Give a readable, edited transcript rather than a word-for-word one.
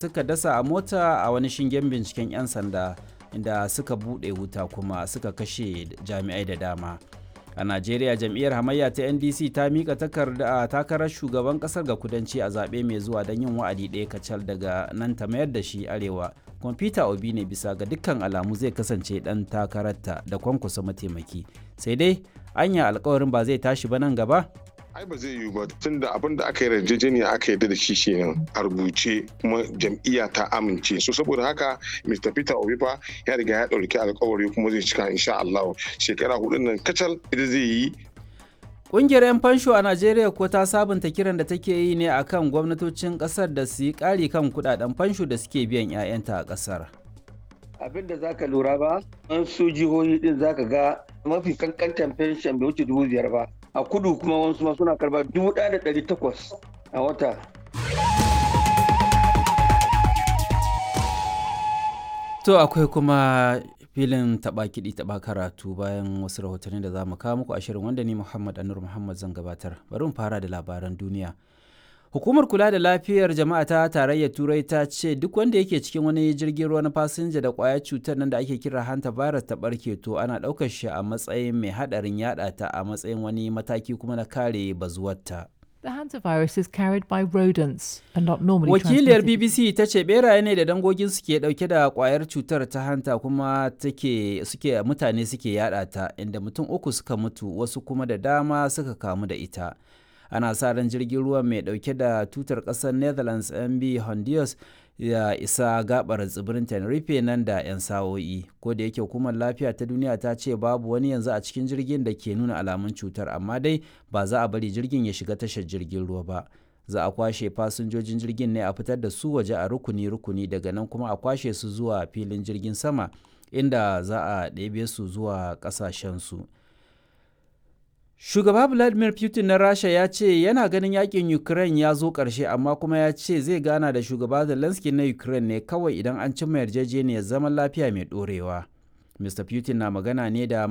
Suka dasa a mota a wani shingen binciken 'yan sanda inda suka buɗe wuta kuma suka kashe jami'ai da dama. A Najeriya, jam'iyyar hamayya ta NDC ta mika takarda takarar shugaban kasar ga kudanci a zaɓe mai zuwa don yin wa'adi ɗaya kacal, daga nan ta mayar da shi arewa. Kwamfuta Obi ne bisa ga dukkan alamu zai kasance ɗan takararta da Kwankwasa mataimaki. Sai dai anya alkawarin ba zai tashi ba nan gaba? Ai ba zai yiwu ba, tunda abin da aka yi yarjejeniya aka yarda da shi kenan a rubuce, kuma jam'iyya ta amince. So saboda haka Mr. Peter Obi fa ya riga ya ɗauki alkawari kuma zai cika insha Allah. Shekara 4 nan kacal ita zai yi. Ƙungiyar 'yan fansho a Najeriya ko ta sabunta kiran da take yi ne akan gwamnatocin ƙasar da su yi ƙari kan kuɗaɗen fansho da suke biyan 'ya'yanta a ƙasar. Abin da zaka lura ba, an su jihohi din zaka ga mafi kankantan pension bai wuce 5,000 ba. A kudu kuma wasu ma suna karba 1,800 a wata. To akwai kuma filin taɓa kiɗi taɓa karatu bayan wasu rahotanni da za mu kawo muku a shirin wanda ni Muhammad Anur Muhammad zan gabatar. Bari mu fara da labaran duniya. Hukumar kula da lafiyar jama'a ta tarayyar Turai ta ce duk wanda yake cikin wani jirgin ruwa na fasinja da kwayar cutar nan da ake kira hanta virus ta barke, to ana ɗaukar shi a matsayin mai haɗarin yaɗa ta, a matsayin wani mataki kuma na kare bazuwarta. The hantavirus is carried by rodents and not normally Wakiliyar transmitted. BBC ta ce beraye ne da dangogin suke dauke da kwayar cutar ta hanta kuma take suke mutane suke yada ta, inda mutum uku suka mutu, wasu kuma da dama suka kamu da ita. Ana sa ran jirgin ruwan mai dauke da tutar kasar Netherlands MB Honduras ya isa gabar tsibirin Tenerife nan da 'yan sa'o'i. Ko da yake hukumar lafiya ta duniya ta ce babu wani yanzu a cikin jirgin da ke nuna alamun cutar, amma dai ba za a bari jirgin ya shiga tashar jirgin ruwa ba. Za a kwashe fasinjojin jirgin ne a fitar da su waje a rukuni-rukuni, daga nan kuma a kwashe su zuwa filin jirgin sama inda za a ɗebe su zuwa ƙasashensu. Shugaba Vladimir Putin na Rasha ya ce yana ganin yakin Ukraine ya zo ƙarshe, amma kuma ya ce zai gana da shugaba Zelensky na Ukraine ne kawai idan an cimma yarjejeniyar zaman lafiya mai ɗorewa. Mr. Putin na magana ne da